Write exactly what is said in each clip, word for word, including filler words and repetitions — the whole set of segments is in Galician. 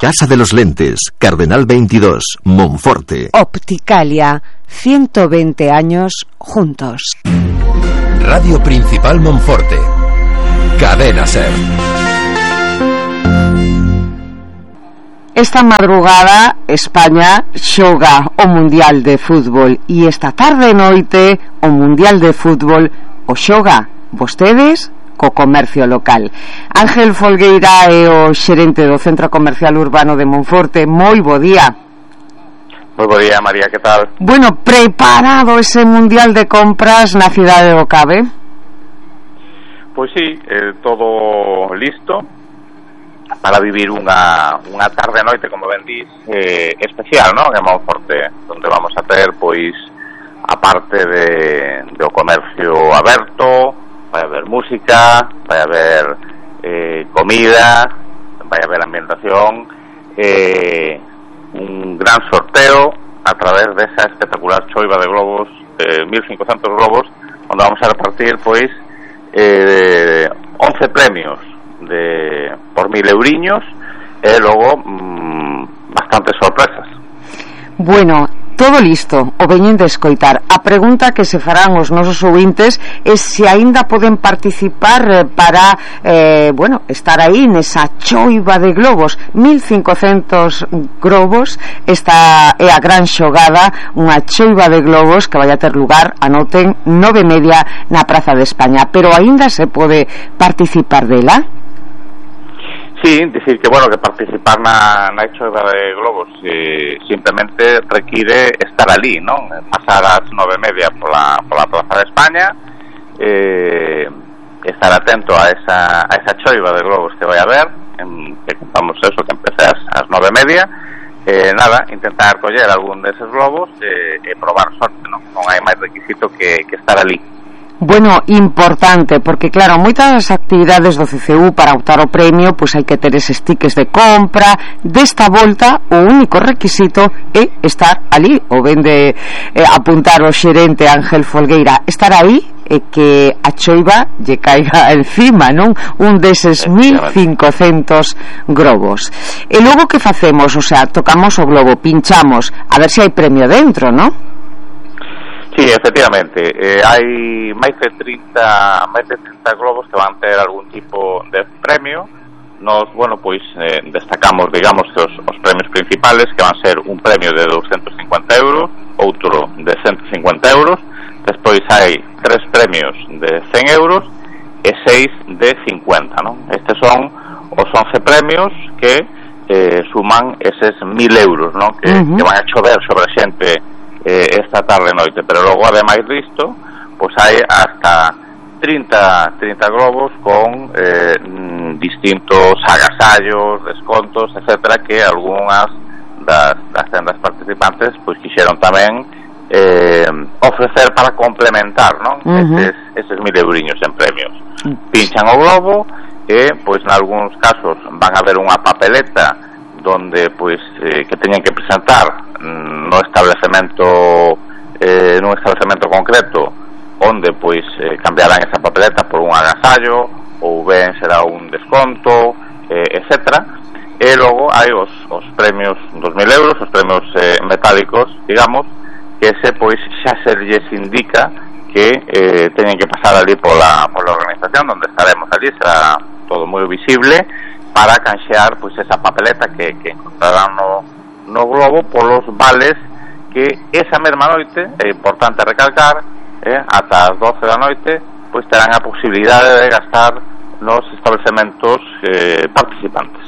Casa de los Lentes, Cardenal veintidós, Monforte. Opticalia, ciento veinte años juntos. Radio Principal Monforte. Cadena Ser. Esta madrugada España xoga o Mundial de Fútbol e esta tarde e noite o Mundial de Fútbol o xoga vostedes co comercio local. Ángel Folgueira é o xerente do Centro Comercial Urbano de Monforte. Moi bo día. Moi bo día, María, que tal? Bueno, preparado ese Mundial de compras na cidade do Cabe? Pois sí, eh, todo listo para vivir unha, unha tarde noite, como ben dís, eh, especial, non? En Monforte, onde vamos a ter, pois, a parte de, de o comercio aberto, vai haber música, vai haber eh, comida, vai haber ambientación, eh, un gran sorteo a través desa espectacular choiva de globos, eh, mil cincocentos globos, onde vamos a repartir, pois, eh, once premios de por mil euriños e logo mmm, bastantes sorpresas. Bueno, todo listo, o veñen de escoitar. A pregunta que se farán os nosos ouvintes é se aínda poden participar para eh, bueno, estar aí nesa choiva de globos. mil cincocentos globos. Esta é a gran xogada, unha choiva de globos que vai a ter lugar, anoten, nove e media na Praza de España. Pero aínda se pode participar dela? Sí, dicir que, bueno, que participar na, na choiva de globos eh, simplemente require estar ali, non? Pasar as nove e media pola, pola Plaza de España, eh, estar atento a esa, a esa choiva de globos que vai a haber, en, que contamos eso, que empece as, as nove e media, eh, nada, intentar coller algún deses globos e eh, eh, probar sorte, non? Non hai máis requisito que, que estar ali. Bueno, importante, porque claro, moitas das actividades do C C U para optar o premio, pois hai que ter eses tickets de compra. Desta volta, o único requisito é estar ali, o ven de eh, apuntar o xerente Ángel Folgueira, estar aí e que a choiva lle caiga encima, non? Un deses mil cincocentos globos. E logo que facemos? O sea, tocamos o globo, pinchamos, a ver se hai premio dentro, non? Sí, efectivamente, eh, hai máis de trinta máis de trinta globos que van ter algún tipo de premio. Nos, bueno, pois eh, destacamos, digamos, os, os premios principales, que van ser un premio de doscientos cincuenta euros, outro de ciento cincuenta euros, despois hai tres premios de cen euros e seis de cincuenta, non? Estes son os once premios que eh, suman eses mil euros, non? Que, uh-huh. que van a chover sobre a xente Eh, esta tarde e noite, pero logo ademais disto, pois hai hasta trinta globos con eh, distintos agasallos, descontos, etcétera, que algunhas das, das tendas participantes pois quixeron tamén eh, ofrecer para complementar, non? Uh-huh. Eses, eses mil euriños en premios. Pinchan o globo e, pois, nalgúns casos van a haber unha papeleta donde, pois, eh, que teñen que presentar no establecemento eh, nun establecemento concreto, onde pois eh, cambiarán esa papeleta por un agasallo ou ben será un desconto, eh, etcétera. E logo hai os, os premios dos mil euros, os premios eh, metálicos, digamos, que ese pois xa se lles indica que eh, teñen que pasar ali pola, pola organización, onde estaremos ali, será todo moi visible, para canxear pois esa papeleta que, que encontrarán no no globo polos vales que esa mesma noite, é importante recalcar, eh, ata as doce da noite, pois terán a posibilidade de gastar nos establecementos eh, participantes.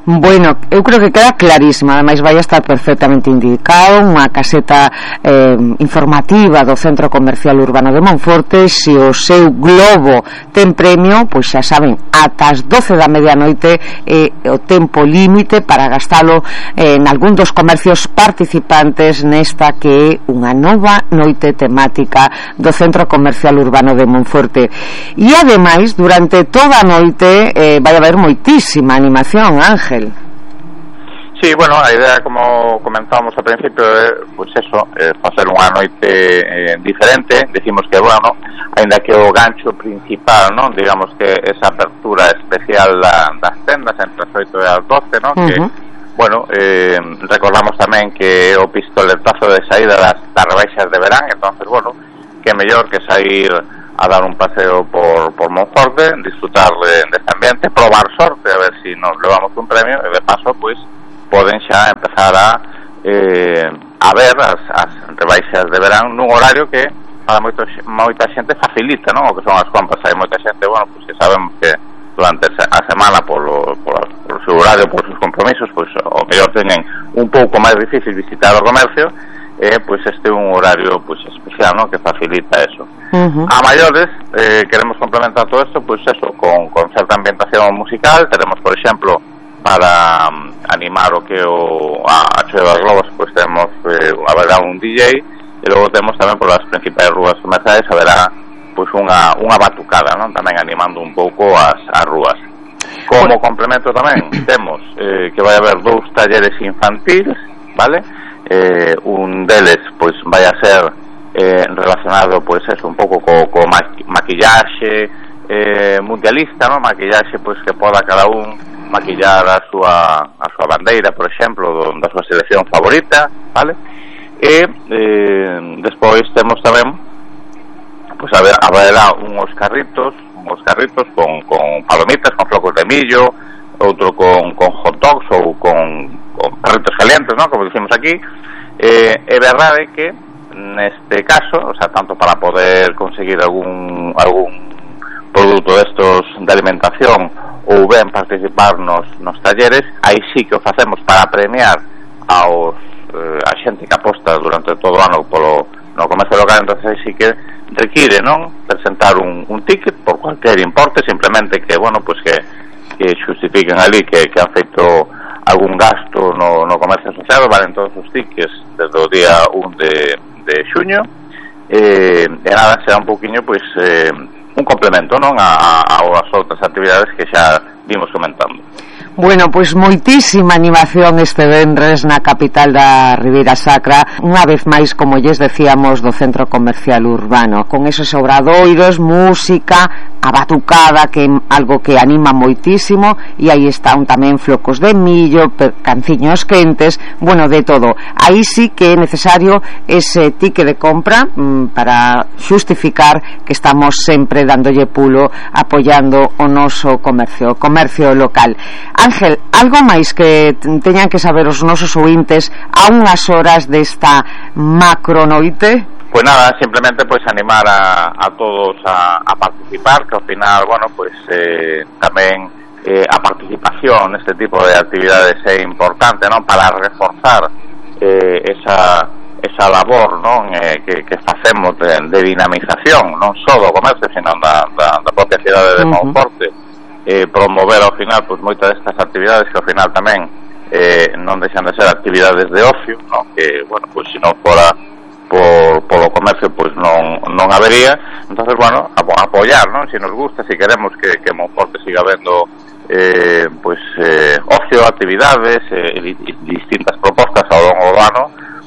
Bueno, eu creo que queda clarísima, ademais vai a estar perfectamente indicado unha caseta eh, informativa do Centro Comercial Urbano de Monforte. Se o seu globo ten premio, pois xa saben, ata as doce da medianoite é eh, o tempo límite para gastalo eh, en algún dos comercios participantes nesta que é unha nova noite temática do Centro Comercial Urbano de Monforte. E ademais, durante toda a noite eh, vai haber moitísima animación, Ángel. Sí, bueno, a idea, como comentábamos ao principio, é, pois eso, é facer unha noite eh, diferente. Decimos que, bueno, ainda que o gancho principal, non, digamos que esa apertura especial da, das tendas entre as oito e as doce, non, uh-huh. que bueno, eh, recordamos tamén que o pistoletazo de saída das, das rebaixas de verán, entonces, bueno, que mellor que sair a dar un paseo por, por Monforte, disfrutar de, deste ambiente, probar sorte, a ver si nos levamos un premio, e de paso, pois, poden xa empezar a eh, a ver as, as rebaixas de verán nun horario que para moito, moita xente facilita, non? O que son as compras, hai moita xente, bueno, pois que sabemos que durante a semana polo, polo, polo seu horario, polos seus compromisos, pois o mellor teñen un pouco máis difícil visitar o comercio, e eh, pois este é un horario pois especial, non? Que facilita eso. Uh-huh. A maiores, eh, queremos complementar todo isto, pois eso, con, con certa ambientación musical. Teremos, por exemplo, para um, animar o que o a, a Choia das Globos, pois temos eh, haberá un D J, e logo temos tamén polas principais rúas comerciais haberá pois unha, unha batucada, non? Tamén animando un pouco as, as rúas. Como complemento tamén temos eh, que vai haber dous talleres infantiles, vale? Eh, un deles pois vai a ser eh, relacionado pois eso, un pouco co, co maquillaxe eh, mundialista, non? Maquillaxe pois que poda cada un maquillar a súa, a súa bandeira, por exemplo, do, da súa selección favorita, vale? E eh, despois temos tamén pois pues haberá unhos carritos, unhos carritos con, con palomitas, con flocos de millo, outro con, con hot dogs ou con, con perritos calientes, ¿no? Como dicimos aquí. Eh, é verdade que neste caso, o sea, tanto para poder conseguir algún algún produto destos de alimentación ou ben participar nos, nos talleres, aí sí que o facemos para premiar aos eh, a xente que aposta durante todo o ano polo no comercio local, entonces aí sí que require, non, presentar un, un ticket por cualquier importe, simplemente que, bueno, pues que, que xustifiquen ali que, que han feito algún gasto no, no comercio asociado, valen todos os tickets desde o día un de, de xuño, eh, e nada, será un pouquiño, pois, eh, un complemento, non, a, a, as outras actividades que xa vimos comentando. Bueno, pois moitísima animación este venres na capital da Ribeira Sacra, unha vez máis, como lles decíamos, do Centro Comercial Urbano, con esos obradoiros, música, a batucada, que é algo que anima moitísimo, e aí están tamén flocos de millo, canciños quentes, bueno, de todo. Aí sí que é necesario ese tique de compra mmm, para xustificar que estamos sempre dándolle pulo, apoiando o noso comercio, o comercio local. Ángel, algo máis que teñan que saber os nosos ointes a unhas horas desta macronoite? Pues nada, simplemente pues animar a, a todos a, a participar, que ao final, bueno, pues eh, tamén eh, a participación neste tipo de actividades é importante, non, para reforzar eh, esa esa labor, non, eh, que, que facemos de, de dinamización, non só do comercio, sino da, da, da propia cidade de Monforte. Uh-huh. Eh, promover ao final pois moitas destas actividades que ao final tamén eh, non deixan de ser actividades de ocio, ¿no? Que, bueno, pois se non fora por, polo comercio pois non, non habería, entonces, bueno, apoiar, ¿no? Se nos gusta, se si queremos que, que Monforte siga vendo eh, pois eh, ocio, actividades eh, distintas propostas ao longo do ano,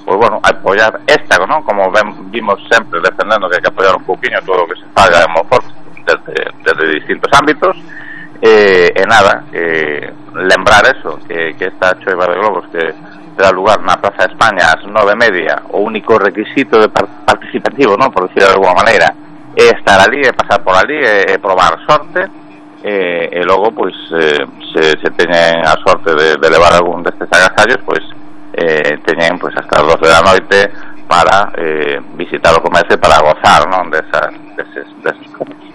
pois, bueno, apoiar esta, ¿no? Como ven, vimos sempre defendendo que hai que apoiar un pouquinho todo o que se faga en Monforte desde, desde distintos ámbitos. Eh, e nada, eh, lembrar eso, que, que esta choiva de globos que terá lugar na Praza de España ás nove e media, o único requisito de participativo, non, por decir de alguma maneira, é estar ali, é pasar por ali, é, é probar sorte, e, e logo, pois, eh, se, se teñen a sorte de, de levar algún destes agasallos, pois, eh, teñen, pois, hasta as doce da noite para eh, visitar o comercio, para gozar, non, desas, deses, deses comercios.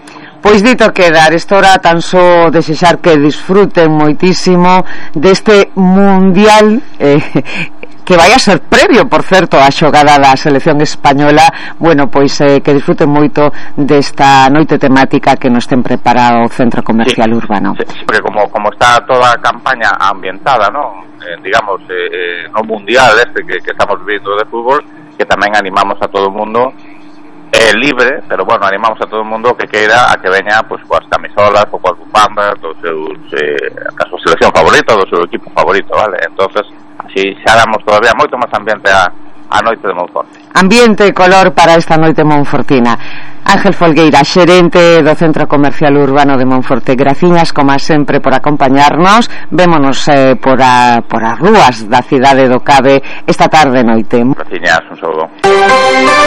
Pois dito queda, estora tan só desexar que disfruten moitísimo deste mundial eh, que vai a ser previo, por certo, a xogada da selección española. Bueno, pois eh, que disfruten moito desta noite temática que nos ten preparado o Centro Comercial sí, Urbano. Sí, porque como, como está toda a campaña ambientada, ¿no? Eh, digamos, eh, no mundial este que, que estamos vivindo de fútbol, que tamén animamos a todo o mundo é eh, libre, pero bueno, animamos a todo o mundo que queira a que veña pois coas camisolas ou coas bufandas dos seus eh, a súa selección favorita ou do seu equipo favorito, vale? Entonces, así xa damos todavía moito máis ambiente a, a noite de Monforte. Ambiente e color para esta noite monfortina. Ángel Folgueira, xerente do Centro Comercial Urbano de Monforte, graciñas como sempre por acompañarnos. Vémonos eh, por, a, por as rúas da cidade do Cabe esta tarde e noite. Graciñas, un saúdo.